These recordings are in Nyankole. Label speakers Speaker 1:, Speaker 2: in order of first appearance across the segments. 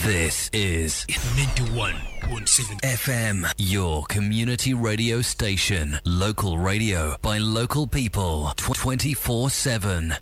Speaker 1: This is
Speaker 2: 91.7
Speaker 1: FM, your community radio station. Local radio by local people 24/7.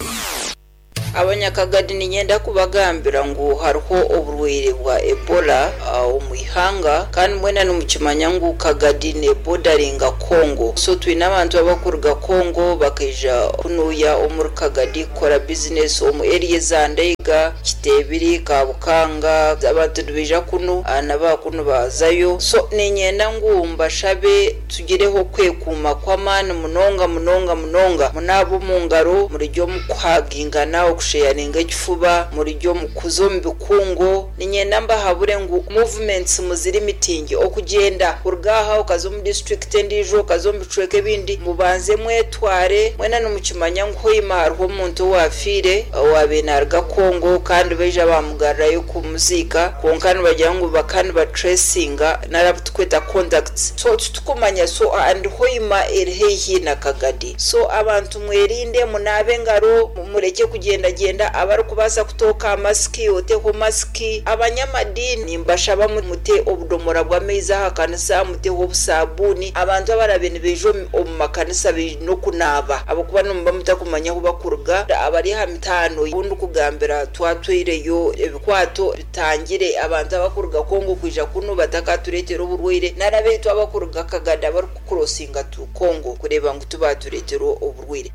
Speaker 3: Abanyakagadi niinyenda kubagambira ngu hariho oburwaire bwa Ebola omu ihanga kandi mwena nimukimanya ngu Kagadi nebodaringa Congo so twine abantu abakuruga Congo bakaija kunuya omuri Kagadi kukora bizinesi omu area eza Ndeiga, Kiteebiri, Kabukanga abantu nibaija kunu na bakunu bazayo so niinyenda ngu mbashabe Tugireho okwekuuma kw'amaani munonga munonga munonga. Munaabe omu ngaro, murigye omu kuhagingana, okusheyaringa ekifuba, murigye omu kuza omu bikungu. Niinyenda mbahabure ngu movements muzirimitinge, okugyenda kuruga aha okaza omu disiturikiti endiijo, okaza omu bicweka ebindi, mubanze mwetware. Mwena nimukimanya ngu Hoima hariho omuntu owaafiire owaabaire naaruga Congo kandi baija baamugarurayo kumuziika kwonka nibagira ngu bakaba nibatracinga nari abu turikweta contacts. So titukumanya so and Hoima eri haihi na Kagadi so abantu mwerinde munaabe engaro murekye kugyenda gyenda abarikubaasa kutooka aha masiki oteho masiki abanyamadiini nimbashaba mute obudomora bw'amaizi aha kanisa muteho obusabuuni abantu abarabe nibaija omu makanisa baine okunaaba ahabw'okuba nimuba mutakumanya ahu bakuruga abari aha mitaano abu ndikugambira twatwaireyo ebikwato Bitangire abantu abakuruga Congo kwija kunu batakatureetera oburwaire nari abaitu abakuruga Kagadi abarikukurosinga to Congo kureeba ngu tibatureetera oburwaire.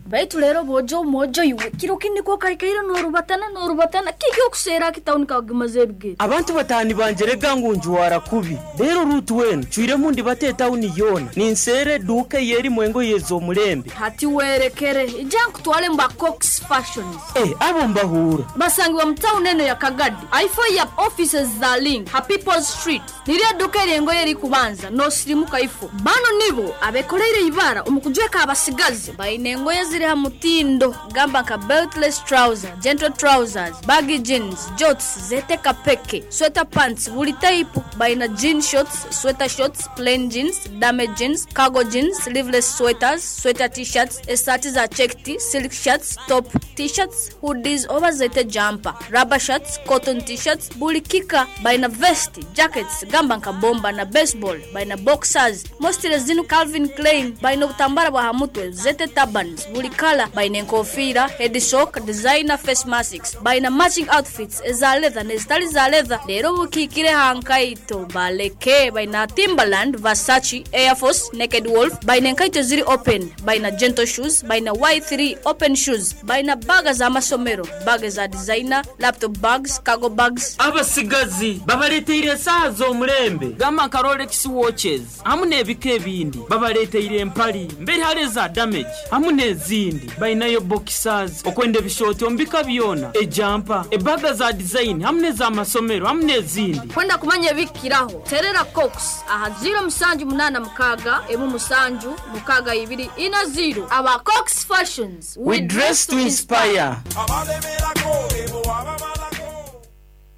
Speaker 4: Baitu reero boojo mwojo iwe, kiro kindi ku okaikaire noorubatana noorubatana, kiki okuseera aki tauni kakugimaza ebigere?
Speaker 5: Abantu bataani bangyerega ngu njwara kubi. Reero Ruutu weena ncwiremu ndibata etauni yoona, ninseera eduuka ey'erimu engoye ez'omulembe.
Speaker 4: Hati weerekere, ija nkutwale mu ba Cox Fashions.
Speaker 5: Eh, abo mbahuura.
Speaker 4: Basangibwa mu tauni eno ya Kagadi, aifo ya offices za Link ha People's Street. Niryo eduuka ery'engoye erikubanza n'osirimuka ifo. Banu nibo abekoreire eibara omu kujweka abasigazi. Baine engoye eziri ha mutindo gamba nka beltless trouser, gentle trousers, baggy jeans, jorts, zeete kapeke, sweater pants buli taipu. Baina jean shorts, sweater shorts, plain jeans, dame jeans, cargo jeans, sleeveless sweaters, sweater t-shirts, esaati za checked, silk shirts, top t-shirts, hoodies oba zeete jumper, rubber shirts, cotton t-shirts buli kika. Baina vest, jackets gamba nka bomba na baseball, baina boxers, mostly zinu Calvin Klein, baina obutambara bwa ha mutwe zeete turbans buli kala, baina enkofiira, head sock, designer face masks, baina matching outfits eza leather n'ezitali za leather. Reero obukiikire aha nkaito baleke, baina Timberland, Versace, Air Force, Naked Wolf, baina enkaito eziri open, baina gentle shoes, baina Y three open shoes, baina baaga z'amasomero, baaga eza designer, laptop bags, cargo bags.
Speaker 5: Abasigazi babaleteire esaaha z'omulembe gamba nka Rolex watches hamu n'ebika ebindi. Babaleteire empali mberi hare eza damage hamu n'ezindi. Bainayo boxers, okwenda ebishooti omu bika byona, ejampa, ebaga za design hamu n'ezamasomero hamu n'ezindi.
Speaker 4: Kwenda kumanya ebikukiraho, terera Cox aha ziiro musanju munaana mukaaga, emu musanju, mukaaga ibiri ina ziiro. Aba Cox Fashions,
Speaker 5: We dress to inspire.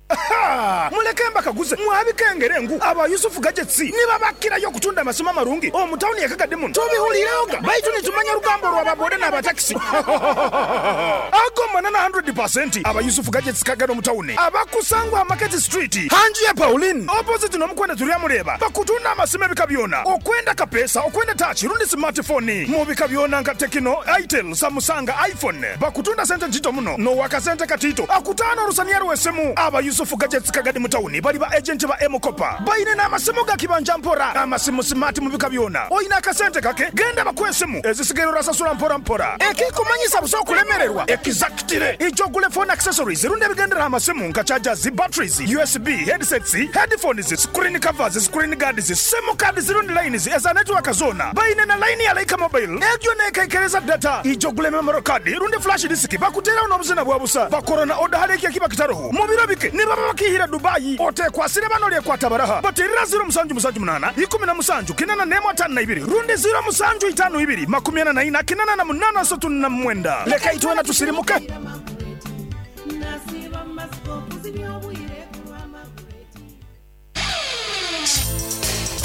Speaker 6: Ha! Muleke mbakaguze, mwabikengere ngu aba Yusuf Gadgets nibabakirayo okutunda amasimu amarungi omu tawuni ye Kagadi muno? Tubihuliirehoga baitu nitumanya orugambo orwa ba boda n'aba takisi. Ago manana handuredi pasenti. Aba Yusuf Gadgets Kagadi omu tawuni abakusangwa aha Market Street ha nju ya Pauline opposite n'omukwenda Turyamureeba bakutunda amasimu ebika byona okwenda kapeesa, okwenda tachi rundi smart phone mu bika byona nka Tecno, Itel, Samusanga, iPhone. Bakutunda sente ntito muno n'owakasente katiito akutaana olusaniya lw'esimu. Aba Yusufu Gadgets Kagadi mu tawuni bali ba agenti ba M-Kopa. Baine n'amasimu ga kibanja mpora, amasimu simaati mu bika byona. Oine akasente kake, genda bakuhe esimu, ezisigaire orasasura mpora mpora. Ekikumanyisa busa okulemererwa, ekizakitire. Ija ogule phone accessories rundi ebigendera aha masimu nka chargers, batteries, USB, headsets, headphones, screen covers, screen guards, simu cards rundi lines eza netiwaaka zoona. Baine na layini ya Lyca Mobile egyo neekaikereza data. Ija ogule memory card rundi flash disk bakuteeraho n'obuzina bwa busa. Bakora na oda hali eki ekiba kitaroho. Mu biro bike nibaba bakiihire Dubai. Oteekwasire bano oryekwata baraha. Bateerera ziiro musanju musanju munaana, ikumi na musanju, kinana n'emwe ataano na ibiri rundi ziiro musanju itaano ibiri, makumi ana na ina, kinana na munaana asatu na mwenda. Leka itwena tusirimuke.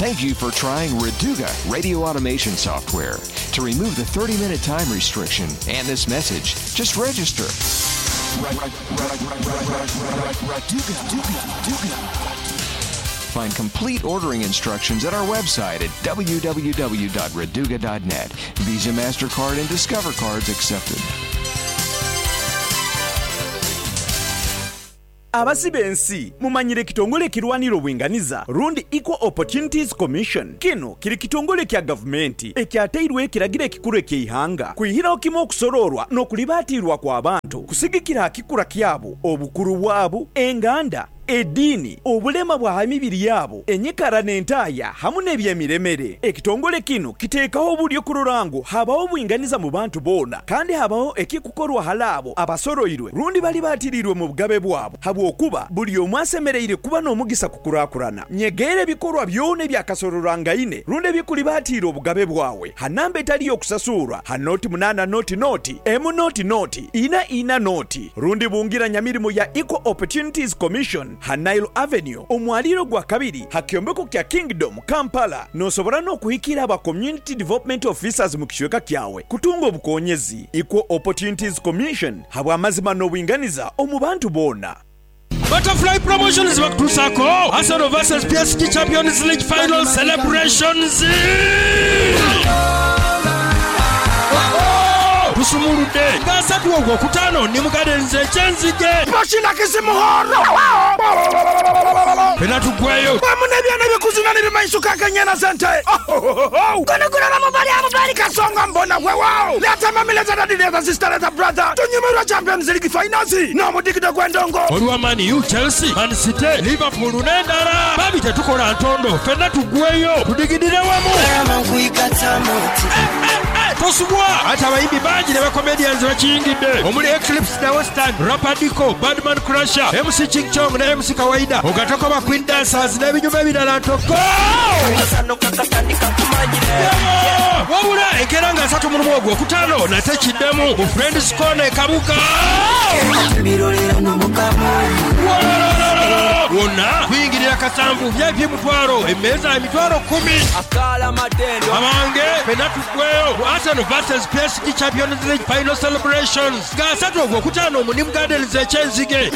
Speaker 7: Thank you for trying Raduga Radio Automation Software. To remove the 30-minute time restriction and this message, just register. Find complete ordering instructions at our website at www.raduga.net. Visa, MasterCard, and Discover cards accepted.
Speaker 8: Abasibe ensi mumanyire ekitongole ekirwanira obwinganiza rundi Equal Opportunities Commission. Kino kiri kitongole kya gavumenti ekyatairweho ekiragiro ekikuru eky'eihanga kwihiraho kimwe okusoroorwa n'okulibaatiirwa kw'abantu kusigikira aha kikura kyabo, obukuru bwabo, enganda, ediini, obulema bwa ha mibiri yaabo, enyikara n'entaaya hamu n'ebyemiremere. Ekitongole kinu kiteekaho oburyo kurora ngu habaho obwinganiza mu bantu boona kandi habaho ekikukorwa hali abo abasoroirwe rundi balibaatiriirwe mu bugabe bwabo habwokuba buli omwe asemereire kuba n'omugisa kukurakurana. Nyegeera ebikorwa byona ebyakasororwangaine rundi ebikulibaatiira obugabe bwawe ha namba etali y'okusasuurwa ha nooti munaana nooti nooti emu nooti nooti ina ina nooti rundi bungira nyamirimo ya Equal Opportunities Commission ha Nile Avenue omwaliiro gwa kabiri ha kyombeko kya Kingdom, Kampala. Nosobora n'okuhikira aba Community Development Officers mu kicweka kyawe kutunga obukonyezi. Equal Opportunities Commission habw'amazima n'obwinganiza omu bantu boona.
Speaker 2: Butterfly Promotions bakutuusaako Arsenal vs PSG Champions League Final Celebrations! Tusumuludde nga asatu Ogwokutaano ni mu Gardens e Kyenzige. Fena tuggweyo.
Speaker 6: Wamu n'ebyana ebikuzina n'ebimanyisuka nk'enyana z'ente. Guno gulala mubali amubali kasonga mbona wewawo. Leeta mami leeta daddy leeta sister leeta brother tunyumirwe Champions League finals n'omudigido gw'endongo.
Speaker 2: Olwa Man U, Chelsea, Man City, Liverpool n'endala. Bambi tetukola ntondo ffenna tuggweyo tudigidire wamu. Tosubwa! Ate abayimbi bangi ne ba comedians bakiyingidde omuli Eclipse Da Western, Rapper Diko, Badman Crusher, MC Ching Chong ne MC Kawaida ogatako ba Queen Dancers n'ebinyuma ebirala ntoko! Wabula enkeera nga asatu mu lumu Ogwokutaano nate kiddemu mu Friends Corner e Kabuga. Wonna kuyingirira kasanvu, VIP mutwalo, emmeeza emitwalo kkumi. Abange ffenna tuggweyo ku Arsenal vs PSG Champions League Final Celebrations nga asatu Ogwokutaano mu Nim Gardens e Kyenzige.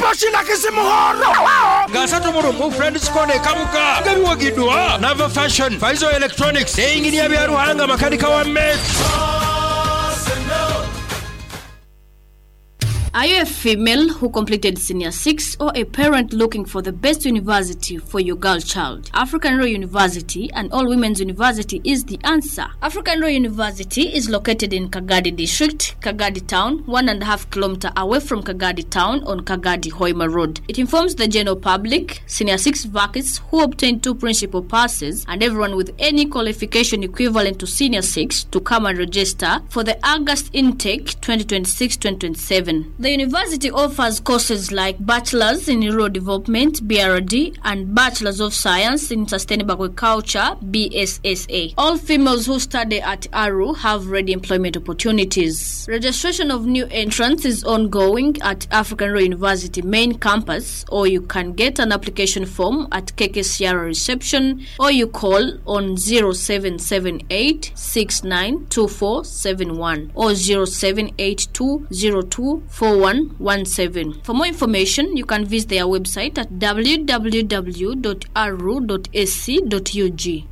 Speaker 2: Nga 31 Friends Corner e Kabuga nga biwagiddwa Nava Fashion, Faizo Electronics ne Yinginiya Byaruhanga makanika wa Met.
Speaker 4: Are you a female who completed Senior 6 or a parent looking for the best university for your girl child? African Royal University and All Women's University is the answer. African Royal University is located in Kagadi District, Kagadi Town, 1.5 kilometer away from Kagadi Town on Kagadi Hoima Road. It informs the general public, Senior 6 vacancies who obtained two principal passes, and everyone with any qualification equivalent to Senior 6 to come and register for the August intake 2026 2027. The university offers courses like Bachelor's in Rural Development, BRD, and Bachelor's of Science in Sustainable Agriculture, BSSA. All females who study at ARU have ready employment opportunities. Registration of new entrants is ongoing at African Royal University main campus, or you can get an application form at KKCR reception, or you call on 0778 692471 or 0782 024117. For more information, you can visit their website at www.aru.ac.ug.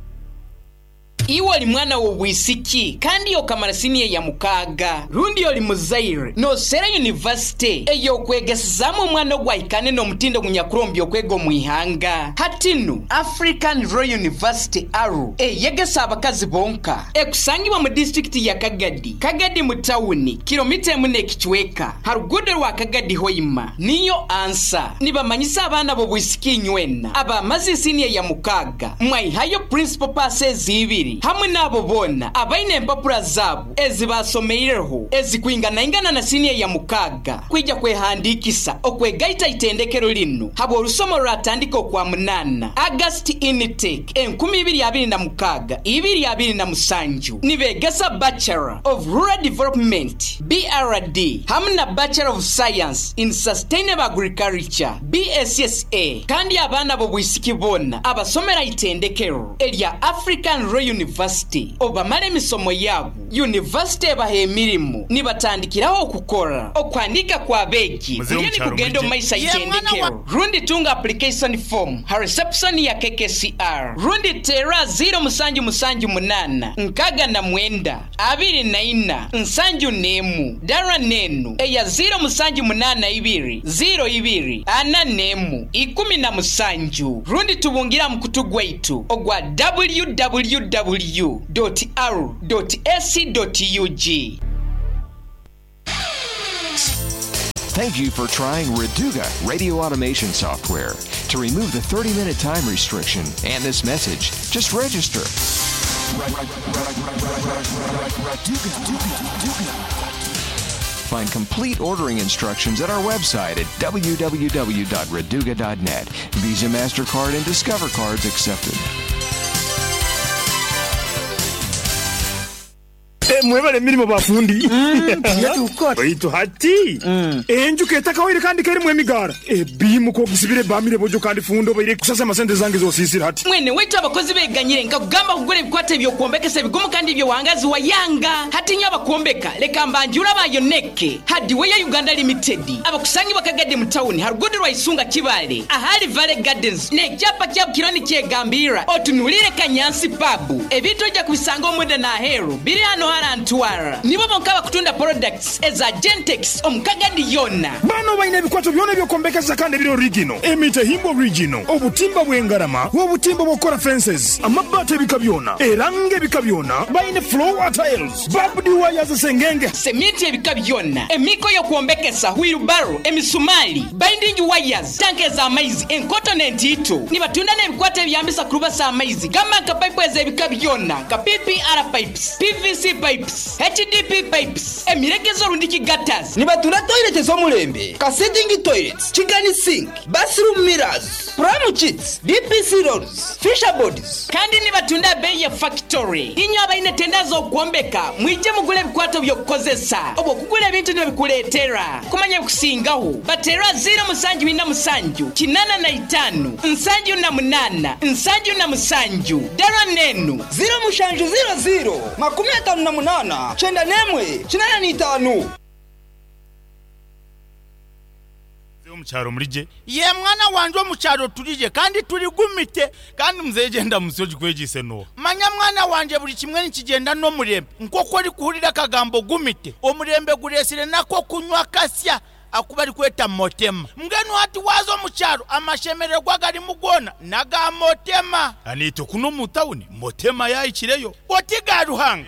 Speaker 9: Iwe oli mwana w'obwisiki kandi okamara siniya ya mukaaga rundi oli muzaire noosera yunivasite ey'okwegesezaamu omwana ogu ahikaane n'omutindo ogunyakurombya okwega omu ihanga. Hati nu, African Royal University, ARU, eyegesa abakazi bonka ekusangibwa mu disiturikiti ya Kagadi, Kagadi mu tawuni, kiromita emu n'ekicweka ha ruguudo rwa Kagadi Hoima. Niyo ansa. Nibamanyisa abaana b'obwisiki inywena abamaze siniya ya mukaaga mwaihayo principal passes ibiri hamwe n'abo boona abaine empapura zaabo ezi baasomeireho ezikwinganaingana na siniya ya mukaaga kwija kwehandiikisa okwegaita itendekero linu habw'orusomo rwatandika Okwamunaana August intake 2026 2027 nibeegesa Bachelor of Rural Development BRD hamwe na Bachelor of Science in Sustainable Agriculture BSSA kandi abaana b'obwisiki boona abasomera itendekero erya African Royal yunivasite obu bamara emisomo yaabo, yunivasite ebaha emirimo nibatandikiraho okukora. Okuhandiika kw'abeegi
Speaker 10: Muzeeyi
Speaker 9: kuriyo
Speaker 10: omu kyaro
Speaker 9: nikugenda omu
Speaker 10: mwije.
Speaker 9: maiso aha itendekero. Rundi tunga application form ha reception ya KKCR rundi teera ziiro musanju musanju munaana 69 24 71 dara n'enu eya ziiro musanju munaana ibiri ziiro ibiri ana n'emu 17 rundi tubungire aha mukutu gwaitu ogwa www dot aru dot ac dot ug.
Speaker 7: Thank you for trying Reduga radio automation software. To remove the 30 minute time restriction and this message, just register. Find complete ordering instructions at our website at www.reduga.net. Visa, MasterCard, and Discover cards accepted.
Speaker 6: Mwebale emirimo ba fundi. Baitu hati enju ketakawaire kandi kerimu emigaara. Ebiimu k'ogisibire ebamire bojo kandi fundi obaire kusasama sente zange z'osiisire hati.
Speaker 9: Mwene waitu abakozi beganyire nkakugamba kugura ebikwato eby'okwombekesa ebigumu kandi eby'owangazi wayanga. Hati inywe abakwombeka leka mbanjure aba Yoneke Hardware Uganda Limited abakusangibwa Kagadi mu tawuni ha ruguudo rwa Isunga Kibaale ahali Valley Gardens n'ekyapa kyabo kiriyo nikyegambirra otunuliire Kanyansi Pub. Ebintu oija kubisanga omunda n'aheeru biri hano hara Ntwara. Nibo bonka abakutunda products eza Gentex omu Kagadi yoona.
Speaker 6: Bano baine ebikwato byona eby'okwombekesa kandi ebiri origino, emitahimbwa origino, obutimba bw'engarama, obutimba obw'okukora fences, amabbaati ebika byona, erangi ebika byona, baine floor tiles, barbed wires sengenge.
Speaker 9: Seminti ebika byona, emiiko y'okwombekesa, wheelbarrow, emisumaali, binding wires, tanka ez'amaizi, enkoto n'entiito. Nibatunda n'ebikwato ebiyambisa kurubasa amaizi gamba nka paipu ez'ebika byona nka PPR pipes, PVC pipes, HDP pipes, emiregezo rundiki gutters.
Speaker 11: Nibatunda toilet ez'omulembe nka sitting toilets, kigani sink, bathroom mirrors, pram kits, DPC rolls, fisher boards.
Speaker 9: Kandi nibatunda abeeyi ya fakitore. Inywe abaine tenda z'okwombeka mwije mugule ebikwato by'okukozesa oba okugura ebintu nibabikureetera. Kumanya ebikusingaho bateere aha ziiro musanju ina musanju 85 78 77. Dara n'enu.
Speaker 11: Ziiro mushanju ziiro ziiro 58 91 85.
Speaker 10: Mzee omukyaro muri gye?
Speaker 12: Yee mwana wangye omukyaro turi gye kandi turi gumite.
Speaker 10: Kandi mzee gyenda munsi ogikwegyeise nooha?
Speaker 12: Manya mwana wangye buri kimwe nikigyenda n'omurembe. Nk'oku orikuhurira akagambo gumite, omurembe gureetsire n'ak'okunywa akasya aku barikweta Motema. Mbwenu hati waaza omu kyaro amashemererwa agarimu goona n'aga Motema.
Speaker 10: Naitwe kunu omu tawuni Motema yaahikireyo.
Speaker 12: Oti ga Ruhanga.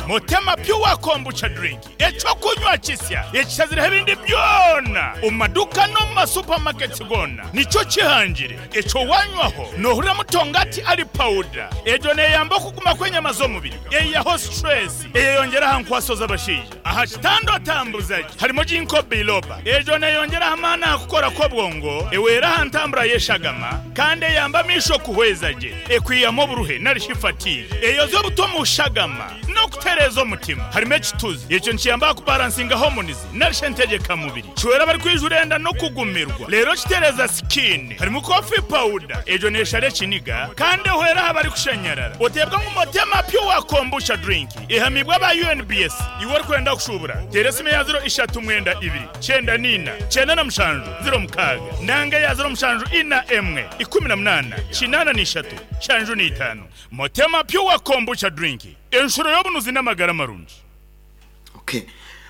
Speaker 10: Motema Pure Kombucha Drink, eky'okunywa kisya ekishazireho ebindi byona omu maduuka n'omu ma supermarkets goona nikyo kihangire. Ekyo wanywaho nohurira mutongati ari pawuda. Egyo neyamba okuguma kw'enyama z'omubiri, eyihaho stress, eyeyongyera aha nkwaso z'abashaija. Aha kitanda otambuza gye harimu Ginkgo biloba. Egyo neyongyera aha maani aha kukora kw'obwongo, ehwera aha ntambura y'eshagama kandi eyamba amaisho kuhweza gye. Ekwihamu oburuhe nari shi fatigue. Eyoza obuto omu shagama n'okutereeza omutima. Harimu ekituzi. Ekyo nikiyamba aha kubaransinga hormones nari shi entegyekamubiri. Kihwera abarikwijura enda n'okugumirwa. Reero kitereeza skin. Harimu coffee powder. Egyo neeshara ekiniga kandi ehwera aha barikushanyarara. Oteebwa ngu Motema Pure Kombucha Drink ehamiibwe aba UNBS. Iwe orikwenda kushuubura, teera esimu eya ziro ishatu mwenda ibiri, kyenda na ina, 97, 06 nanga eya ziro mushanju ina emwe, 18, 83, 75. Motema Pure Kombucha Drink, enshuro y'obunuzi n'amagara marungi.
Speaker 13: Okay.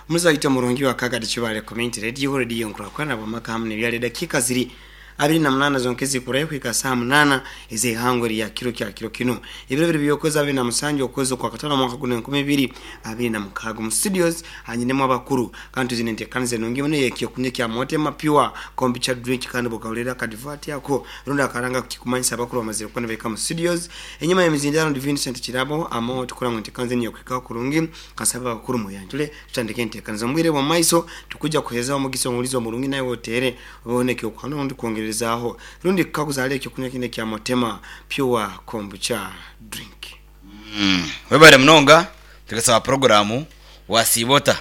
Speaker 13: Muzaito murungi wa Kagadi Kibale Community Radio, Radio Nkurakurana bwamaka hamu nebyali edakika ziri 28 zonka ezikurayo kuhika saha munana ez'eihangwe rya kiro kya kiro kinu. Ebiro biri by'okwezi 27 okwezi okwa katano omwaka guno 2026 omu studios hanyinemu abakuru kandi tuzine enteekaniza enungi muno ey'ekyokunywa kya Motema Pure Kombucha Drink kandi bwokahurira akadivati ako rundi akaranga kikumanyisa abakuru bamazire kuba nibahika omu studios. Enyima y'emizindaaro ndi Vincent Kirabo amo tukora ngu enteekaniza enu y'okuhikaho kurungi Nkansaba abakuru muyanjure tutandike enteekaniza. Omu bwire bw'omu maiso tukwija kuheerezaho omugisa omuhulizi omurungi naiwe oteere obeho n'eky'okuhana rundi kwongererezaaho rundi kukaguza hali eky'okunywa kinu ekya Motema Pure Kombucha Drink.
Speaker 14: Webare munonga tugesaba puroguramu wasiiba ota?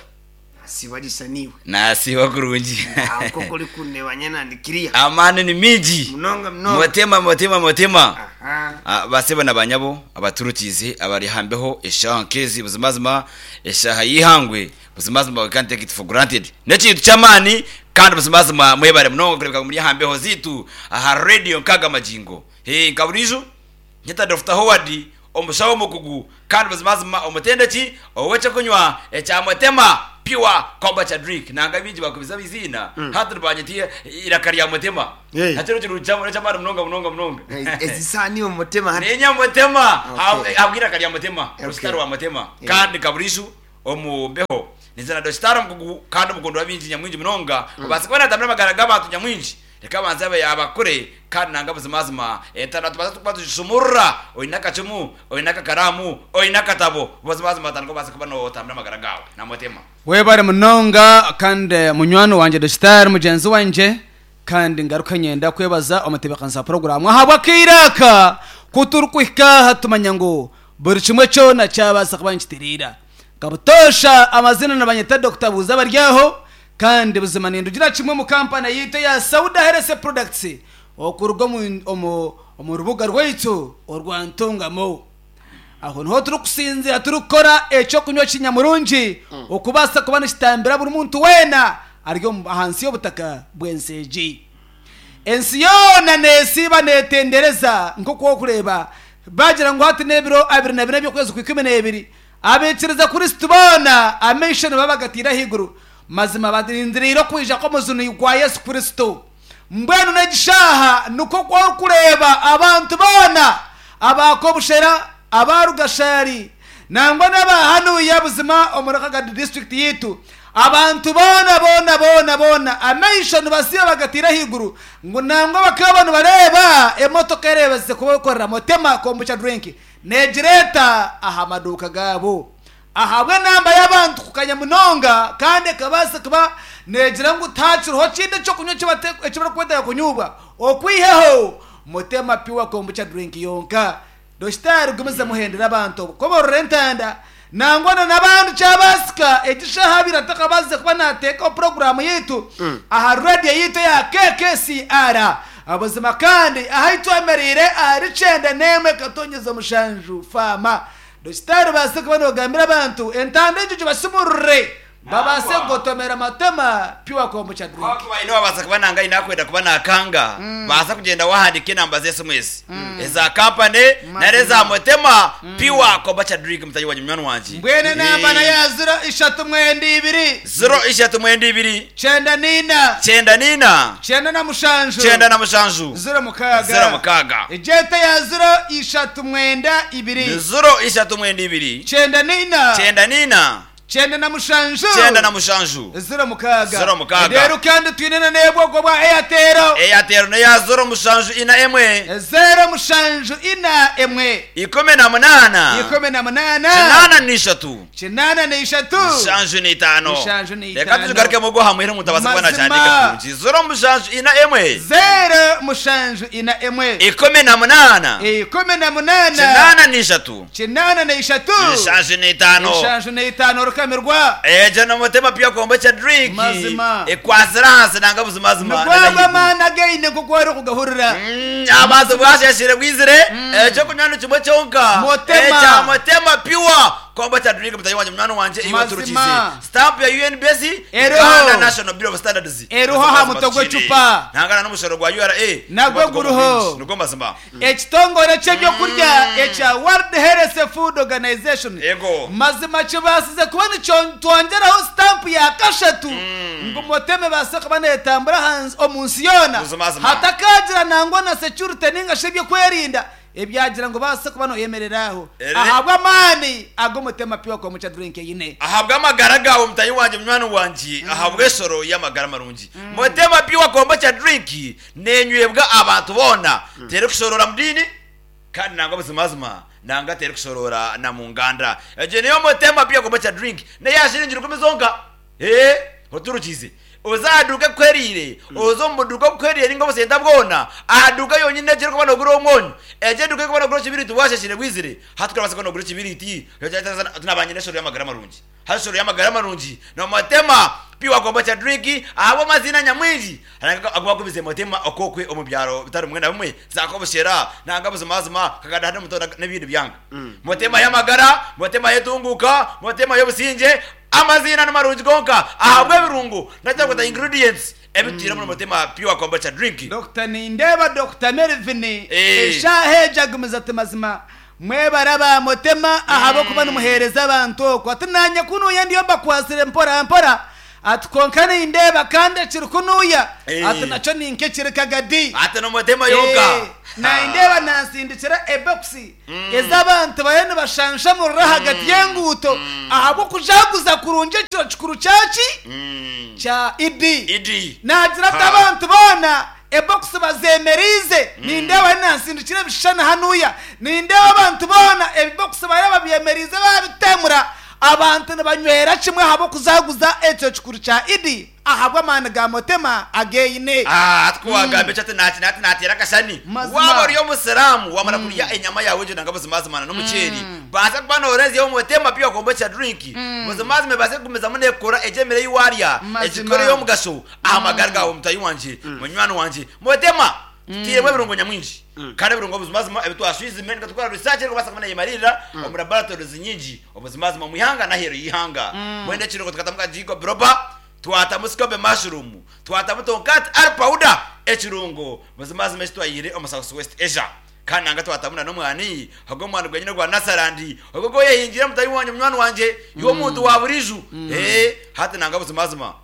Speaker 13: Wasiiba riisa niiwe.
Speaker 14: Nasiiba kurungi.
Speaker 13: Nk'oku orikundeeba nyena ndi clear.
Speaker 14: Amaani ni mingi.
Speaker 13: Munonga munonga.
Speaker 14: Mutema mutema mutema.
Speaker 13: Aha.
Speaker 14: Ah, Basebo na banyabo abaturukiize abari aha mbeho eshaaha nk'ezi buzimazima eshaaha y'eihangwe buzimazima we can't take it for granted. N'ekintu ky'amaani kandi buzimazima mwebare munonga kureebeka ngu muri aha mbeho zaitu aha radio nkaaga magingo. Hee nka buriijo Nyeta Dokita Howard, omushaho omukugu kandi buzimazima omutendeki ow'ekyokunywa ekya Mutema Pure Kombucha Drink. Nanga baingi bakubize eiziina, hati nibanyeta eiraka rya Mutema. Nakyo n'ekirungi ky'amaani munonga munonga munonga.
Speaker 13: Ezi saaha niiwe Mutema hati.
Speaker 14: Niinye Mutema ahabw'eiraka rya Mutema, Rositari wa Mutema. Kandi nka buriijo omu mbeho, ninza na Dokitaari omukugu kandi omukundwa w'abaingi nyamwingi munonga, obaasa kuba naatambira amagara g'abantu nyamwingi. Reka abanze abe yaabakure, kandi nanga buzimazima entanda tubaase kuba tugishumurura, oine akacumu, oine akakaraamu, oine akatabo, buzimazima otandike obaase kuba nootambura amagara gaawe na Mutima.
Speaker 15: Webare munonga kandi munywani wangye Dositari mugyenzi wangye kandi ngaruke nyenda kwebaza omutebekanisa wa puroguramu ahabw'akaire aka ku turikuhika aha tumanya ngu buri kimwe kyona kyabaasa kuba nikitereera. Nka butoosha amazina nibanyeta Dokita Buuza Baryaho Kandi buzima nindugira kimwe omu kampani yaitu eya Sauda Health Products okuruga omu rubuga rwaitu orwa Ntungamo. Aho niho turikusinzira turikukora eky'okunywa kinyamurungi okubaasa kuba nikitambira buri muntu weena ari ahansi y'obutaka bw'ensi egi. Ensi yoona neesiiba neetendereza nk'oku orikureeba baagira ngu hati n'ebiro 24 by'okwezi kwa 12 Abaikiriza Kristo boona amaisho nibaba bagataire ahaiguru, mazima barindiriire okwija kw'omujuni gwa Yesu Kristo. Mbwenu n'egi shaaha nikwo ku orikureeba abantu boona aba Kobushera, aba Rugashari nangwa n'aba hanuya buzima omuri Kagadi disiturikiti yaitu, abantu boona boona boona boona amaisho nibasiiba bagataire ahaiguru ngu nangwa bakaba nibareeba emotoka ereebeze kubakorera Motema Kombucha Drink. Neegireeta aha maduuka gaabo ahabw'enamba y'abantu kukanya munonga kandi ekabaasa kuba neegira ngu tihakiriho kindi eky'okunywa eki barikwetaaga kunyubwa okwihaho Mutema Pure Kombucha Drink yonka. Dokitaari gumizamu ohendere abantu obukoborora entanda nangwa na n'abandi kyabaasika egi shaaha abaire atakabaasize kuba naateekaho puroguraamu yaitu aha radiyo yaitu eya KKCR. Buzima kandi ahu twemereire ahari 91 katonyeza mushanju faama. Dokitaari obaase kuba nogambira abantu entanda egyo gibasumurure babaase kugotomera Matema Pure Kombucha Drink.
Speaker 14: Ku baine owabaasa kuba nanga aine akwenda kuba nakanga, baasa kugyenda wahandiika enamba z'esimu ezi eza kampani nari eza Mutema Pure Kombucha Drink mutahi wangye munywani wangye.
Speaker 15: Mbwenu enamba nayo ya 0392.
Speaker 14: 0392.
Speaker 15: 94.
Speaker 14: 94.
Speaker 15: 97.
Speaker 14: 97.
Speaker 15: 06.
Speaker 14: 06.
Speaker 15: Egyeta ya 0392.
Speaker 14: Ni 0392.
Speaker 15: 94.
Speaker 14: 94.
Speaker 15: 97.
Speaker 14: 97.
Speaker 15: 06.
Speaker 14: 06.
Speaker 15: Reero kandi twine na n'ebwogo bwa Airtel.
Speaker 14: Airtel n'eya 074 1.
Speaker 15: 074 1.
Speaker 14: 18.
Speaker 15: 83.
Speaker 14: 75.
Speaker 15: 75.
Speaker 14: Reka tugigarukemu ogwo aha muheru omuntu abaase kuba
Speaker 15: Mazima.
Speaker 14: nakihandiika kurungi. 074 1.
Speaker 15: 074
Speaker 14: 18.
Speaker 15: 18.
Speaker 14: 83.
Speaker 15: 83.
Speaker 14: 75.
Speaker 15: 75 orukamirwa.
Speaker 14: Egyo n'omutima pure kombucha drink.
Speaker 15: Mazima.
Speaker 14: Ekwatsire ahansi nanga buzimazima.
Speaker 15: Nigwo ago amaani againe nk'oku orikugahurira.
Speaker 14: Abantu bwasheshire bwizire ekyokunywa ni kimwe kyonka.
Speaker 15: Mutema.
Speaker 14: Ekya Mutema pure kombucha drink mutahi wangye munywani wangye iwe
Speaker 15: Mazima.
Speaker 14: turukize. Stamp ya UNBS
Speaker 15: Eriho.
Speaker 14: Uganda National Bureau of Standards.
Speaker 15: Eriho aha mutwe gw'ecupa.
Speaker 14: Nangana n'omushoro gwa URA.
Speaker 15: Nagwo guriho.
Speaker 14: Nigwo mazima.
Speaker 15: Ekitongore ky'ebyokurya ekya World Health Food Organization mazima kibaasize kuba nikyongyeraho sitampu ya kashatu ngu Motema ebaase kuba neetambura omu nsi yoona hatakaagira nangwa na securite ninga shi eby'okwerinda ebyagira ngu baase kuba noyemerera aho ahabw'amaani agu Motema Pure Kombucha Drink eine.
Speaker 14: Ahabw'amagara gaawe mutahi wangye munywani wangye ahabw'eshoro y'amagara marungi Motema Pure Kombucha Drink Neenywebwa abantu boona, terikushoroora mu diini, kandi nangwa buzimazima nanga terikushoroora na mu nganda. Egyo niyo Motema Pure Kombucha Drink, n'eya shiringi rukumi zonka. Ee. Oturukize. Oze aha duuka ekuheriire, oze omu buduuka obukuheriire ninga obusenta bwona, aha duuka yonyini egi erikuba nogura omwonyo, egi eduuka erikuba nogura ekibiriiti washashire bwizire, hati kurabaasa kuba nogura ekibiriiti, oti naba nyine eshoro y'amagara marungi. Hati eshoro y'amagara marungi nomotema pure kombucha drink ahabw'amaziina nyamwingi agu bakubize motema okokwe omu byaro bitari bimwe na bimwe za kobushera nanga buzimazima kaganda hati omutono n'ebindi byanga. Motema y'amagara, motema y'entunguuka, motema y'obusingye, Amaziina ni marungi gonka ahabw'ebirungo nakyarikweta ingredients ebitwire omuri Mutima Pure Kombucha Drink.
Speaker 15: Dokita Nindeeba Dokita Melvin eshaaha egi agumize ati mazima mwebare aba Mutema ahabw'okuba nimuheereza abantu oku ati nanye kunuuya ndiyo mbakwatsire mpora mpora ati kwonka nindeeba kandi ekiri kunuuya ati nakyo ninka ekiri kagadi
Speaker 14: Ati ni Mutema yonka.
Speaker 15: Nindeeba nansindikira ebokisi ez'abantu bariyo nibashanshamurira ahagati y'enguuto ahabw'okujaguza kurungi ekiro kikuru kya ki? Kya Idi. Naagira ati abantu boona ebokisi bazemereize. Nindeeba hariyo nansindikira ebishushani hanuya. Nindeeba abantu boona ebibokisi bariyo babyemereize babitemura. Abantu nibanywera kimwe ahabw'okujaguza ekiro kikuru kya Idi. Ahabw'amaani ga Mutema ageine.
Speaker 14: Ati ku waagamba ekyo ati naaki ati naateera akashani.
Speaker 15: Mazima.
Speaker 14: Waaba ori Omusiraamu waamara kurya enyama yaawe egyo nanga buzimazima na n'omuceeri, baasa kuba noorenzyaho Mutema Pure Kombucha Drink, buzimazima ebaase kugumizamu neekukora egyo emere ei waarya,
Speaker 15: Mazima.
Speaker 14: egikore ey'omugasho aha magara gaawe mutaahi wangye, munywani wangye. Mutema tutairemu ebirungo nyamwingi kandi ebirungo buzimazima ebi twashwizime ninga tukora research erikubaasa kuba neyemariirira omu laboratories nyingi obuzimazima omu ihanga n'aheeru y'eihanga. Mbwenu ekirungo tukatamu ka ginkgo biloba, twatamu scoby mushroom, twatamu tonkat ar powder, ekirungo buzimazima eki twaihire omu South West Asia. Kandi nanga twatamu na n'omwani, ogwo omwani gwenyine ogwa Nasarandi, ogwo ogu oyehingiire mutahi wangye munywani wangye, iwe omuntu wa buriijo. Ee, hati nanga buzimazima.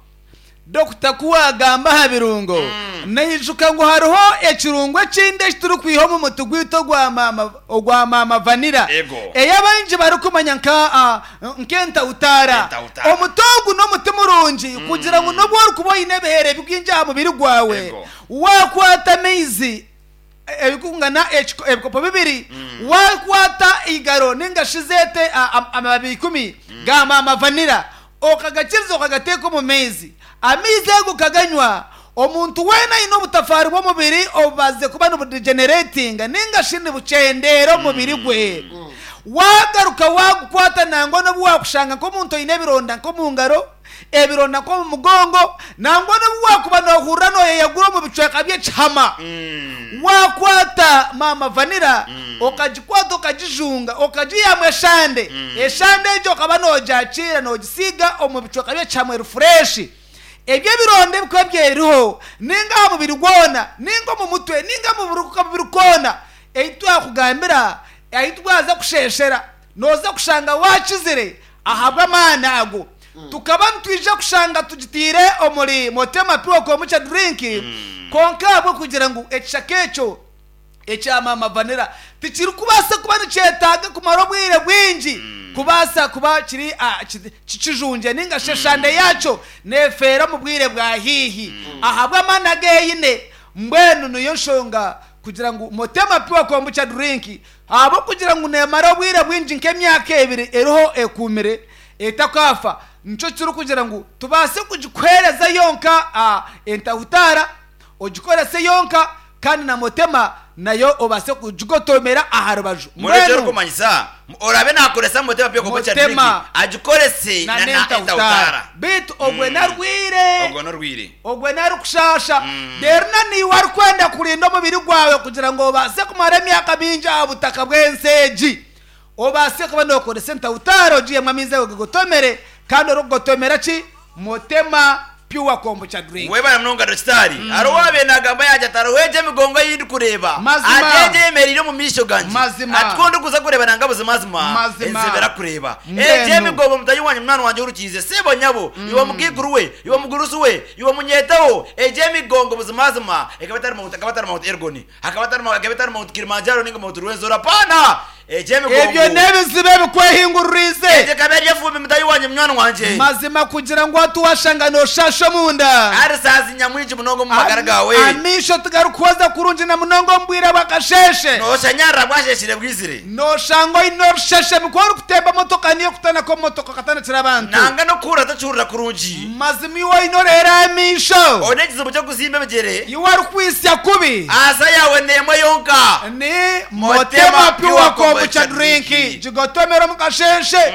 Speaker 15: Dokita ku waagamba aha birungo, naijuka ngu hariho ekirungo ekindi eki turikwiha omu muti gwaitu ogwa maama vanira, ei abaingi barikumanya nk'entautaara. Omuti ogu n'omuti murungi kugira ngu n'obu orikuba oine ebiheera bingi aha mubiri gwawe, waakwata amaizi ebikungana ebikopo bibiri, waakwata eigaro nainga shi zeete amababi ikumi ga maama vanira, okagakiriza okagateeka omu maizi, amaizi ago okaganywa, omuntu weena aine obutafaari bw'omubiri obubaasize kuba nibudegeneratinga nainga shi nibukyendeera omu mubiri gwe, waagaruka waagukwata nangwa n'obu waakushanga nk'omuntu oine ebironda nk'omu ngaro, ebironda nk'omu mugongo, nangwa n'obu waakuba noohurira nooyeyagura omu bicweka by'ekihama. Waakwata maama vanira okagikwata okagijunga okagiihamu eshande, eshande egyo okaba noogyakiira noogisiiga omu bicweka by'ekihama eri fureeshi. Ebyo ebironda ebikuba byeriho nainga aha mubiri gwona, nainga omu mutwe, nainga omu kabiri koona, ei twakugambira ahu twaza kusheeshera, nooza kushanga waakizire Ahabw'amaani ago, tukaba nitwija kushanga tugitaire omuri Motema Pure Kombucha Drink, kwonka ahabw'okugira ngu ekishaka ekyo ekya Mama Vanilla tikirikubaasa kuba nikyetaaga kumara obwire bwingi kubaasa kuba kiri kikijungye ninga shi eshande yaakyo neefeera omu bwire bwa haihi ahabw'amaani agu eine. Mbwenu niyo nshonga kugira ngu Motema Pure Kombucha Drink Ahabw'okugira ngu neemara obwire bwingi nk'emyaka ebiri eriho ekuumire etakaafa, nikyo kirikugira ngu tubaase kugikuheereza yonka entahutaara, ogikorese yonka kandi na motema nayo obaase kugigotomera aha rubaju.
Speaker 14: Mbwenu eki
Speaker 15: Mbwenu
Speaker 14: orikumanyisa, oraabe naakoresa motema pure kombucha drink
Speaker 15: motema
Speaker 14: agikorese
Speaker 15: na
Speaker 14: na
Speaker 15: n'entahutaara.
Speaker 14: entahutaara.
Speaker 15: Beitu ogwe n'arwaire.
Speaker 14: Ogwo n'orwaire.
Speaker 15: Ogwe n'arikushaasha. Reero na naiwe arikwenda kurinda omubiri gwawe kugira ngu obaase kumara emyaka mingi aha butaka bw'ensi egi. Obaase kuba nookoresa entahutaara ogiihemu amaizi ago gagotomere kandi orikugotomera ki? Motema Pure Kombucha Drink.
Speaker 14: Webare munonga Dokitaari. Hariho owaabaire naagamba yaagira ati hariho egyo emigongo ei ndikureeba,
Speaker 15: Mazima.
Speaker 14: ati egyo eyemereire omu maisho gangye,
Speaker 15: Mazima.
Speaker 14: ati ku ndikuza kureeba nanga buzimazima
Speaker 15: Mazima.
Speaker 14: enzibira kureeba.
Speaker 15: Mbwenu.
Speaker 14: Egyo emigongo mutaahi wangye munywani wangye orukiize, sebo nyabo, iwe mukaikuru we, Iwe mugurusi we, iwe munyeetaho, egyo emigongo buzimazima ekaba etari Mount, akaba atari Mount Elgon, akaba atari, ekaba etari Mount Kilimanjaro ninga Mount Rwenzori, apana! Eky'emigongo.
Speaker 15: Ebyo n'ebizibu ebikwehinguririize.
Speaker 14: Egyo ekaba eri efumbi mutahi wangye munywani wangye.
Speaker 15: Mazima kugira ngu hati waashanga nooshaasha omunda.
Speaker 14: Arisaasi nyamwingi munonga omu magara gaawe.
Speaker 15: Amaisho tigarikuhweza kurungi na munonga omu bwire bw'akasheeshe.
Speaker 14: Nooshanyarara bwasheeshire bwizire.
Speaker 15: Nooshanga oine orusheshemi ku orikutemba motoka niyo okutanaka omu motoka okatanakira abantu.
Speaker 14: Nanga n'okuhurira tokihurira kurungi.
Speaker 15: Mazima iwe oine oreera amaisho.
Speaker 14: Oine ekizibu ky'okuzimba ebigyere.
Speaker 15: Iwe orikwitsya kubi.
Speaker 14: Ansa yaawe n'emwe yonka.
Speaker 15: Ni Motema Pure Kombucha Drink. Gigotomere omu kasheeshe,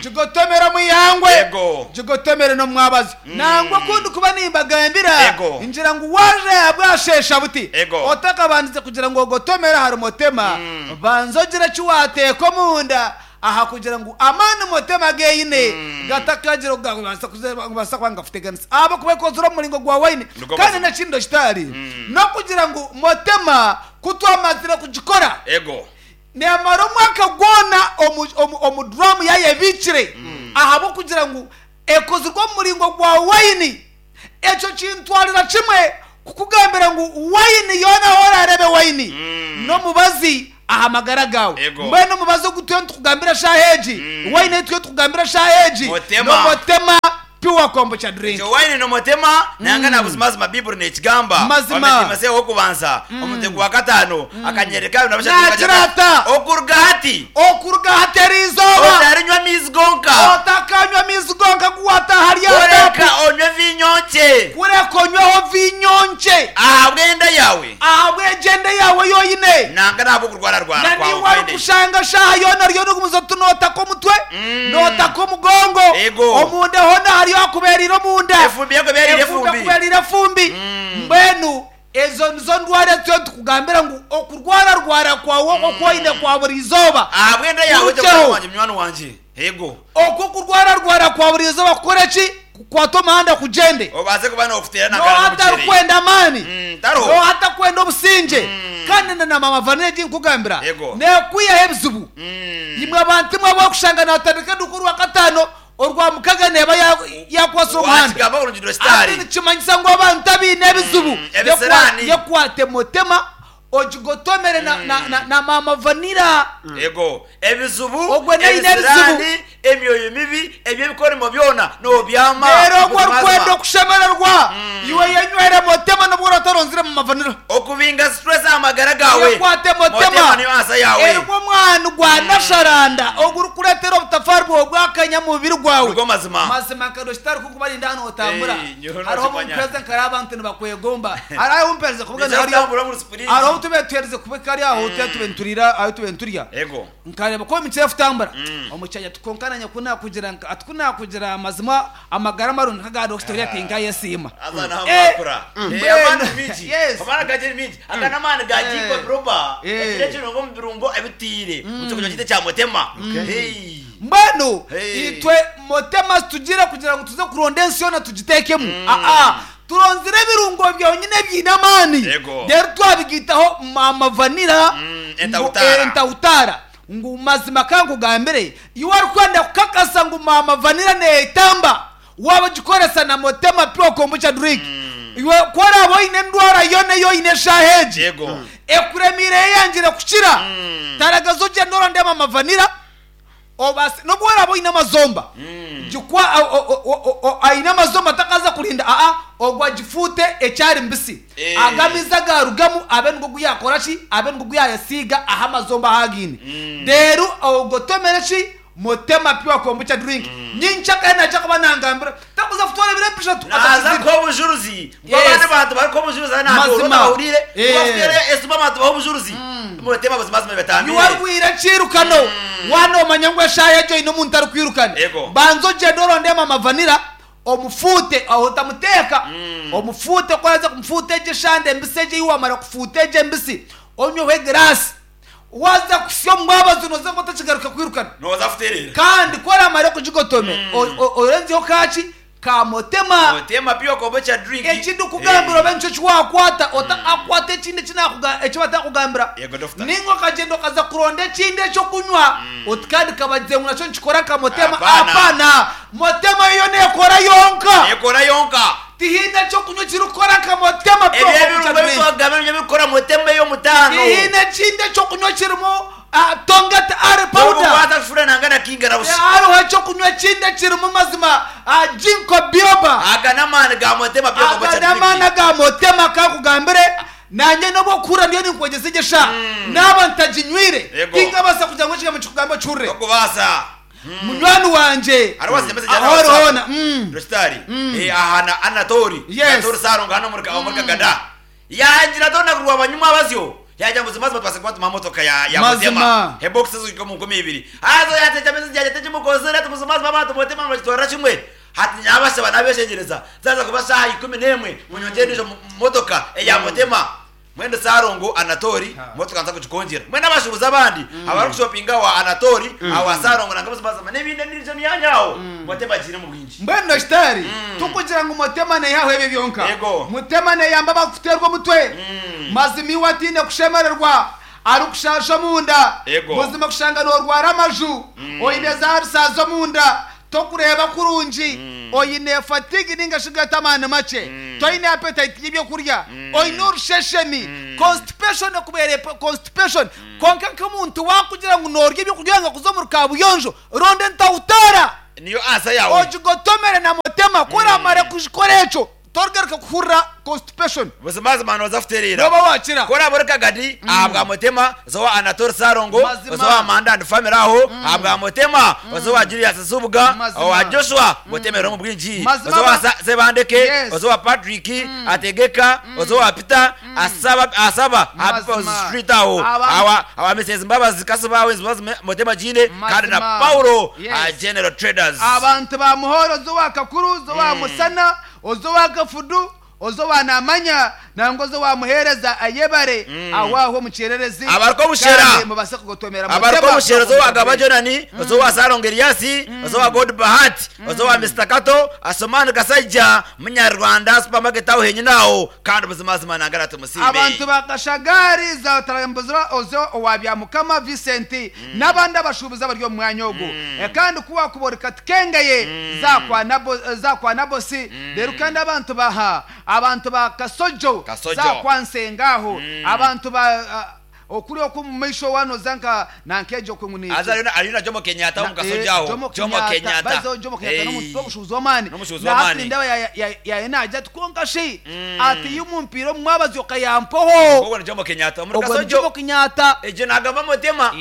Speaker 15: gigotomere omu ihangwe, gigotomere n'omu mwabazyo. Nangwa ku ndikuba nimbagambira, ngira ngu waaja bwasheesha buti, otakabandize kugira ngu ogotomere ahari Motema, banza ogire eki waateeka omunda aha kugira ngu amaani Motema geine gatakagira oku gakubaasa kuba nigakuteganisa ahabw'okuba ekozirwe omu muringo gwa waini. Kandi n'ekindi ekitari, n'okugira ngu Motema Ku twamazire kugikora, neemara omwaka gwona omu duramu yaayo ebiikire ahabw'okugira ngu ekozirwe omu muringo gwa waini. Ekyo kintwarira kimwe kukugambira ngu waini yoona ahu oraareebe waini, n'omubazi aha magara gaawe. Mbwenu omubazi ogu turiyo nitukugambira eshaaha egi, waini ei turiyo nitukugambira eshaaha egi, n'omutema. Pure kombucha drink.
Speaker 14: Ekyo waini nomotema nanga na buzimazima Bibuli nekigamba
Speaker 15: Mazima.
Speaker 14: Omu Timotheo ow'okubanza omutwe gwa kataano akanyerere ka abiri na bushatu
Speaker 15: Naagira
Speaker 14: nikagira kati,
Speaker 15: ata?
Speaker 14: Okuruga hati
Speaker 15: Okuruga hati eri izooba.
Speaker 14: otarinywa amaizi gonka,
Speaker 15: Otakanywa amaizi gonka agu waataaha ahari aha
Speaker 14: kureka
Speaker 15: taapu.
Speaker 14: onywe viinyo nkye
Speaker 15: Kureka onyweho viinyo nkye.
Speaker 14: ahabw'enda yaawe
Speaker 15: Ahabw'egyenda yaawe ei oine.
Speaker 14: nanga n'ahabw'okurwararwara
Speaker 15: Na
Speaker 14: kwawe
Speaker 15: niiwe
Speaker 14: kw'enda.
Speaker 15: orikushanga shaaha yoona oriyo nogumiza oti nootaka omutwe, nootaka omugongo,
Speaker 14: Ego.
Speaker 15: omunda hoona hariyo hakubeereire omunda.
Speaker 14: Efumbi ekubeereire
Speaker 15: Efumbi
Speaker 14: efumbi.
Speaker 15: ekubeereire efumbi. Mbwenu ezo nizo ndwara ezi turiyo nitukugambira ngu okurwararwara kwawe okwo oku oine kwa buri izooba
Speaker 14: Ahabw'enda yaawe
Speaker 15: kurugyeho.
Speaker 14: mutaahi wangye munywani wangye. Ego.
Speaker 15: Okwo okurwararwara kwa buri izooba kukore ki? Kukwate omuhanda kugyende.
Speaker 14: Obaase kuba nookuteera na
Speaker 15: N'oha
Speaker 14: nkara n'omukyere.
Speaker 15: atarikwenda amaani?
Speaker 14: Tariho.
Speaker 15: N'oha atakwenda obusingye? Kandi na na maama Vanilla egi nkugambira,
Speaker 14: Ego.
Speaker 15: neekwihaho ebizibu. Imwe abantu imwe abu orikushanga naatandika eduuka orwakataano, orwamukaga neeba ya- yaakwasire omuhanda.
Speaker 14: Waakigamba kurungi
Speaker 15: Hati
Speaker 14: Rositari.
Speaker 15: nikimanyisa ngu abantu abaine ebizibu,
Speaker 14: Ebisiraani.
Speaker 15: yekwate motema ogigotomere na, na, na, na maama Vanilla.
Speaker 14: Ego. Ebizibu,
Speaker 15: Ogwo naine ebizibu.
Speaker 14: ebisiraani, emyoyo mibi, eby'ebikorimo byona noobyama.
Speaker 15: Reero ogwo
Speaker 14: Buzimazima.
Speaker 15: orikwenda okushemererwa, iwe yenywere motema n'obu oraba otaronzire mu mavanira.
Speaker 14: Okubinga stress aha magara gaawe.
Speaker 15: Yekwate motema
Speaker 14: Motema niyo ansa yaawe.
Speaker 15: erimu omwani gwa nasharanda ogurikureetera obutafaari bwawe bwakanya omu mubiri gwawe.
Speaker 14: Nigo mazima.
Speaker 15: Mazima nka Dokita arikukuba arinda hanu otambura.
Speaker 14: Hey, nyowe
Speaker 15: Hariho obu
Speaker 14: nokimanya.
Speaker 15: mpereza nkareba abantu nibakwegomba. Hariho ahu mpereza kubugana
Speaker 14: Niija
Speaker 15: hariyo
Speaker 14: kutambura omuri sipuringi.
Speaker 15: hariho obu tubaire tuheerize kubika hariya ahu tubaire nituriira ahu tubaire niturya.
Speaker 14: Ego.
Speaker 15: Nkareeba ku emikira erikutambura omu kyanya kwonka naanye ku naakugira nka ati ku naakugira amazima amagara marungi nk'aga Dokita oriya tinkayesiima.
Speaker 14: Haza naho
Speaker 15: Eh,
Speaker 14: mwakura. Eh,
Speaker 15: mbwenu,
Speaker 14: amaani mingi.
Speaker 15: yes.
Speaker 14: Amaani gagye ni mingi. Aga n'amaani ga ginkgo biloba.
Speaker 15: Eh.
Speaker 14: Ekiro ekirungo omu birungo ebitiire. Omu kyokurya kyaitu ekya mutema. Hey.
Speaker 15: Mbwenu
Speaker 14: Hey.
Speaker 15: itwe motema situgiire kugira ngu tuze kuronda ensi yoona tugiteekemu. Aa, turonzire ebirungo byonyine ebiine amaani
Speaker 14: Yego.
Speaker 15: reero twabigaitaho maama vanilla ngu,
Speaker 14: entahutaara.
Speaker 15: eh, entahutaara ngu mazima ka nkugambire iwe orikwenda kukakasa ngu maama vanilla neetamba waaba ogikoresa na motema pure kombucha drink iwe ku oraabe oine endwara yoona ei oine eshaaha egi
Speaker 14: Yego.
Speaker 15: ekuremiire eyangire kukira taragaza ogyende oronde maama vanilla Obaase, n'obu oraabe oine amazomba, gikwa, o, o, o, o, o, aine amazomba takaza kurinda, aa, ogwo agifuute ekyari mbisi.
Speaker 14: Eh.
Speaker 15: Ago amaizi agaarugamu abe nigo gu yaakora ki? Abe nigo gu yaayesiiga aha amazomba ahu againe. Reero ogotomere ki? Motema Pure Kombucha Drink. Nyenkyakare naija kuba nangambira, takuza kutwara ebiro bishatu
Speaker 14: Naaza
Speaker 15: atakizire.
Speaker 14: kuha obujuruzi ngu
Speaker 15: Yes.
Speaker 14: abandi bantu barikuha obujuruzi hanu aha
Speaker 15: Mazima.
Speaker 14: bahuriire
Speaker 15: Eh.
Speaker 14: kubakuteera esimu abantu baha obujuruzi mutema buzimazima bibatambire.
Speaker 15: Iwe orwaire ekiirukano, waaba noomanya ngu eshaaha egyo oine omuntu arikwirukana,
Speaker 14: Yego.
Speaker 15: banza ogyende oronde maama Vanilla omufuute, aho otamuteeka, omufuute ku oraaze kumufuuta egyo eshande embisi egyo ei waamara kufuuta egyo embisi, onyweho egiraasi. Waaza kuhitsya omu mwabazi nooza kuba otakigaruka kwirukana.
Speaker 14: Nooza kutereera.
Speaker 15: Kandi ku oraamare kugigotome, o- o- orenzyeho kaaki? Ka motema.
Speaker 14: Motema pure kombucha drink.
Speaker 15: Eki ndikugambira obe nikyo eki waakwata, otakakwata ekindi eki naakuga, eki batakugambira.
Speaker 14: Yego doctor.
Speaker 15: Nainga okagyenda okaza kuronda ekindi eky'okunywa, oti kandi kabagize ngu nakyo nikikora nka motema.
Speaker 14: Hapana.
Speaker 15: Hapana! Motema yo neekora yonka.
Speaker 14: Neekora yonka.
Speaker 15: Tihaine eky'okunywa ekirikukora nka motema pure
Speaker 14: Ebyo
Speaker 15: kombucha
Speaker 14: ebirungo ebi
Speaker 15: drink.
Speaker 14: twakugamba nibyo birikukora motema ey'omutaano.
Speaker 15: Tihaine ekindi eky'okunywa ekirimu. Tongati Are Powder.
Speaker 14: N'obu waza nanga na kinga na busha.
Speaker 15: Hariho ekyokunywa ekindi ekirimu mazima Ginkgo Biloba.
Speaker 14: Aga n'amaani ga Motema Pure
Speaker 15: Aga
Speaker 14: Kombucha
Speaker 15: n'amaani
Speaker 14: Drink.
Speaker 15: aga Motema kankugambire nanye n'obu okuhurira ndiyo ninkwegyesa egyo eshaaha naaba ntaginywire
Speaker 14: Yego.
Speaker 15: tinkabaasa kugira ngu ekigambo kikugambe okihurire.
Speaker 14: Tokubaasa.
Speaker 15: Munywani wangye
Speaker 14: Hariho wazire message
Speaker 15: aho
Speaker 14: hano
Speaker 15: ori
Speaker 14: WhatsApp.
Speaker 15: hoona.
Speaker 14: Rositari. Aha na Anatori.
Speaker 15: Yes.
Speaker 14: Anatori Sarongo hano omuri omuri Kagada. Yaagira ati orunaku rwaba nyumwabazyo yaagira ngu buzimazima tubaase kuba tumuha motoka ya ya
Speaker 15: Mazima.
Speaker 14: Mutema. Ebokisi ezihika omu 2000. Haza yaateeka message yaagira ati ekimukozire ati buzimazima abantu Mutema nibakitwarira kimwe. Hati naabashaba naabeshengyereza zaaza kuba shaaha 11 munyongyere endiijo motoka eya Mutema. Mbwenu Sarongo Anatori motoka nza kugikongyera. Mbwenu abashuubuzi abandi abarikushopinga awa Anatori, awa Sarongo nanka buzimazima n'ebindi endiijo myanya aho Mutema agiine omu bwingi.
Speaker 15: Mbwenu Dogiteri, tikugira ngu Mutema naihaho ebyo byonka.
Speaker 14: Yego.
Speaker 15: Mutema neyamba abarikuteerwa omutwe. Mazima iwe ataine kushemererwa, arikushaasha omunda.
Speaker 14: Yego.
Speaker 15: Buzima kushanga norwara amaju, oine za arusa z'omunda, tokureeba kurungi, oine fatigue ninga shi gata amaani makye, toine appetite y'ebyokurya, oine orusheshemi, constipation ekubeire constipation. Kwonka nk'omuntu wakugira ngu norya ebyokurya nga kuza omuri kabuyonjo, ronda entahutaara.
Speaker 14: Niyo answer yawe.
Speaker 15: Ogigotomere na mutema, ku oramare kugikora ekyo, torigaruka kuhurira constipation.
Speaker 14: Buzimazima noza kutereera.
Speaker 15: Noba wakira.
Speaker 14: Ku oraabe ori Kagadi ahabwa Mutema, oze owa Anatole Ssalongo,
Speaker 15: Mazima.
Speaker 14: oze owa Manda and Family aho ahabwa Mutema, oze owa Julius Nsubuga,
Speaker 15: Mazima.
Speaker 14: owa Joshua, Mutema eriho omu bwingi.
Speaker 15: Mazima
Speaker 14: Oze owa
Speaker 15: ba-
Speaker 14: Sebandeke,
Speaker 15: Yes.
Speaker 14: oze owa Patrick Ategeka, oze owa Peter Asaba, Asaba aha People's
Speaker 15: Mazima.
Speaker 14: Street aho.
Speaker 15: Aba-
Speaker 14: Awa Mrs Mbabazi Kasiba aho, Mbabazi Mutema Giine, kandi na
Speaker 15: Mazima.
Speaker 14: Paulo,
Speaker 15: Yes.
Speaker 14: aha General Traders.
Speaker 15: Abantu ba Muhoro, oze owa Kakuru, oze owa Musana, oze owa Kafudu, oze owa Namanya, nangwa oze owa Muheereza Ayebare, aho aho omu kyererezi.
Speaker 14: Abarikwobushera.
Speaker 15: Kandi mubase kugotomera Mutema.
Speaker 14: Abarikwobushera oze owa Gaba Jonani, oze owa Salongo Elias, oze owa God Bahati, oze owa Mister Kato, Asumani Kasaija, Munyarwanda Supermarket aho henyine aho, kandi buzimazima nangara tumusiime.
Speaker 15: Abantu ba Kashagari za Tarambuzira, oze owa Byamukama Vincent, n'abandi abashuubuzi abari omu mwanya ogu. Kandi ku wakuboreka tikengeye za kwa Nabosi. Reero kandi abantu baha abantu ba Kasojo,
Speaker 14: Kasojo.
Speaker 15: za kwa Nsenga aho, abantu ba okuri oku omu maisho wanoza nka nankegyo okwe ngu ni
Speaker 14: Haza hariyo na Jomo Kenyatta omu Kasojo aho.
Speaker 15: Jomo
Speaker 14: Jomo
Speaker 15: Kenyatta.
Speaker 14: Kenyatta.
Speaker 15: Bazo Jomo Kenyatta
Speaker 14: Hey.
Speaker 15: n'omuntu w'obushuubuzi w'amaani.
Speaker 14: N'omushuubuzi
Speaker 15: Na hati
Speaker 14: w'amaani.
Speaker 15: nindeeba yaye naagira ati kwonka shi ati iyo omupiira omu mwabazyo okayampoho.
Speaker 14: Ogwo ni Jomo Kenyatta omuri
Speaker 15: Ogwo ni
Speaker 14: Kasojo.
Speaker 15: Jomo Kenyatta.
Speaker 14: Egyo nagamba Mutema.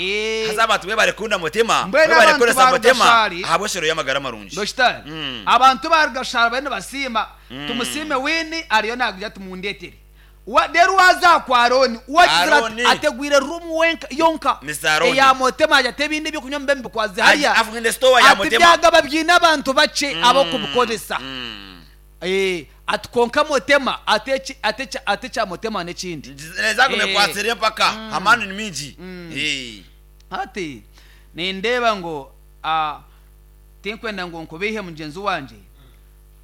Speaker 14: Haza abantu webare kukunda Mutema.
Speaker 15: Mbwenu
Speaker 14: Webare
Speaker 15: abantu
Speaker 14: kukoresa
Speaker 15: ba
Speaker 14: Mutema.
Speaker 15: Rugashari.
Speaker 14: Ahabw'eshero y'amagara marungi.
Speaker 15: Dogitari, abantu ba Rugashari bariyo nibasiima. Tumusiime Wini ariyo naagira ati mundeetere. Reero waaza kwa Arooni, waagizire ati
Speaker 14: Arooni.
Speaker 15: ategwire ruumu wenka yonka
Speaker 14: Mister Arooni.
Speaker 15: eya Mutema agira ati ebindi ebyokunywa mube mubikwaze hariya.
Speaker 14: Afungire store ya
Speaker 15: Ati
Speaker 14: Mutema.
Speaker 15: byagaba biine abantu bakye ab'okubikoresa. Ati kwonka Mutema ati eki- ati ekya- ati ekya Mutema n'ekindi.
Speaker 14: Nezagume kwatsire empaka. Amaani ni mingi.
Speaker 15: Hati nindeeba ngu tinkwenda ngu nkubeihe mugyenzi wangye,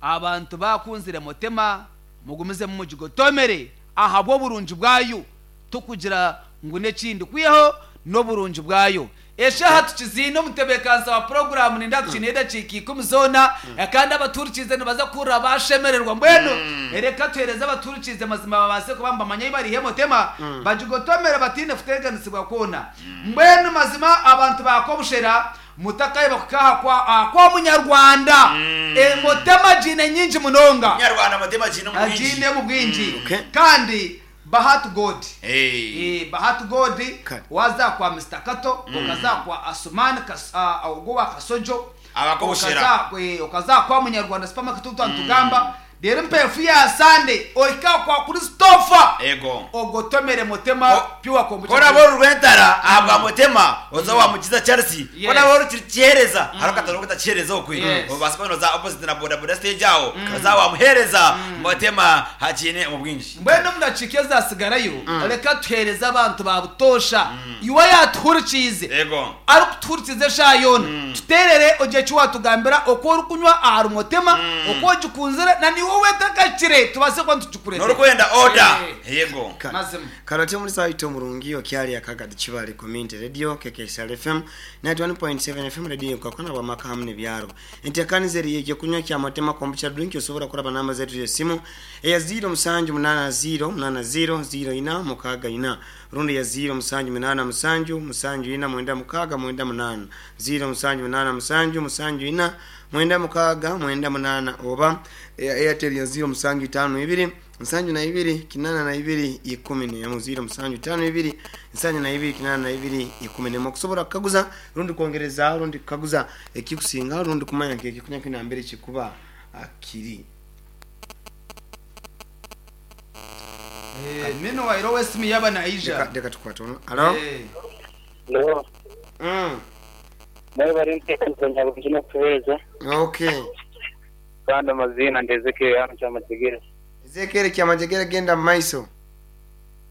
Speaker 15: abantu bakunzire Mutema mugumizemu mugigotomere ahabw'oburungi bwayo, tukugira ngu n'ekindi kwihaho n'oburungi bwayo. Eshaha tukiziine omutebeekanisa wa puroguramu ninda tukiine edakiika 10 zoona, kandi abaturikiize nibaza kuhurira bashemererwa. Mbwenu reka tuheereze abaturikiize mazima babaase kuba nibamanya ei bariihe Mutema, bagigotomere bataine kuteganisibwa kwona. Mbwenu mazima abantu bakobushera mutakayeba kukaha kwa munyarwanda. Mutema giine nyingi munonga.
Speaker 14: Munyarwanda Mutema giine mu bwingi.
Speaker 15: Giine mu bwingi. Kandi Bahati God. Bahati God waza kwa Mr Kato, okaza kwa Asumani ogwo wa Kasojo.
Speaker 14: Abakobushera.
Speaker 15: Okaza kwa Munyarwanda Supermarket utantugamba. Rero mpefu ya Sunday oika kwa Christopher.
Speaker 14: Ego.
Speaker 15: Ogotomere Mutema pure kombucha.
Speaker 14: Kora boru rwentara ahabwa Mutema oza wa Mukiza Charles.
Speaker 15: Yes.
Speaker 14: Kora boru kihereza haro kataro kutakihereza okwe. Obasa kono za opposite na boda boda stage aho. Oza wa muhereza Mutema hakine mu bwingi.
Speaker 15: Mbwenu omu dakiika ezasigarayo, reka tuhereze abantu ba butosha iwe yatuhurikiize.
Speaker 14: Ego.
Speaker 15: Arikutuhurikiza eshaaha yoona, tuteerere ogye eki watugambira oku orikunywa ahari Mutema, oku ogikunzire na niwe wetakakire tubaase kuba nitugikureta.
Speaker 14: Norikwenda order. Yego.
Speaker 13: Karote muri saito murungi okyali akagadi Kibale Community Radio KKSR FM 91.7 FM radio kakona bwa maka hamwe byaro. Entekanize eri ekyokunywa kya Motema Kombucha Drink osobora kuraba namba zetu z'esimu eya 0780 80 04 64 rundi ya 0787 74 96 98 0787 74 96 98 oba eya Airtel ya 0752 72 82 11 0752 72 82 11 okusobola kukaguza rundi kwongereza rundi kukaguza ekikusinga rundi kumanya nti ekikunya kinambere kikuba kiri.
Speaker 15: Mino wairo wesimu yaba naija.
Speaker 13: Reka tukwate ono. Alo.
Speaker 16: Hello. Nawe bari ntekereza nyabungi nokuheereza.
Speaker 13: Okay.
Speaker 16: Kandi amazina ndi Ezekiel hano Kyamajegere.
Speaker 13: Ezekiel Kyamajegere genda mumaiso.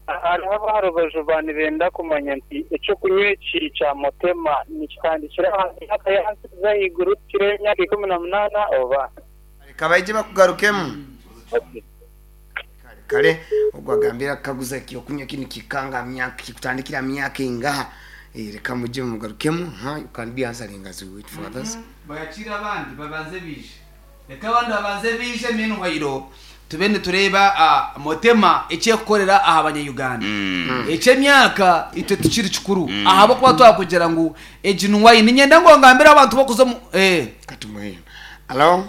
Speaker 16: Hariho abaha rubaju ba nibenda kumanya nti ekyokunywa eki kya Motema nikitandikira aha myaka y'ahansi kuza ahaiguru kukira emyaka 18 oba?
Speaker 13: Reka baije bakugarukemu. Kare ogwo agambire akukaguza ekyokunywa kinu kikanga myaka kikutandikira myaka engaha. Reka muje mumugarukemu. Ha, you can be answering as we wait for others.
Speaker 15: Bayakiire abandi babanze baije. Reka abandi babanze baije meanwhile tube nitureeba Motema eki erikukorera aha banya-Uganda. Eky'emyaka itwe tikiri kikuru ahabw'okuba twakugira ngu egi ni wine. Niinyenda ngu ongambire abantu b'okuza omu.
Speaker 13: Katumuhe. Alo?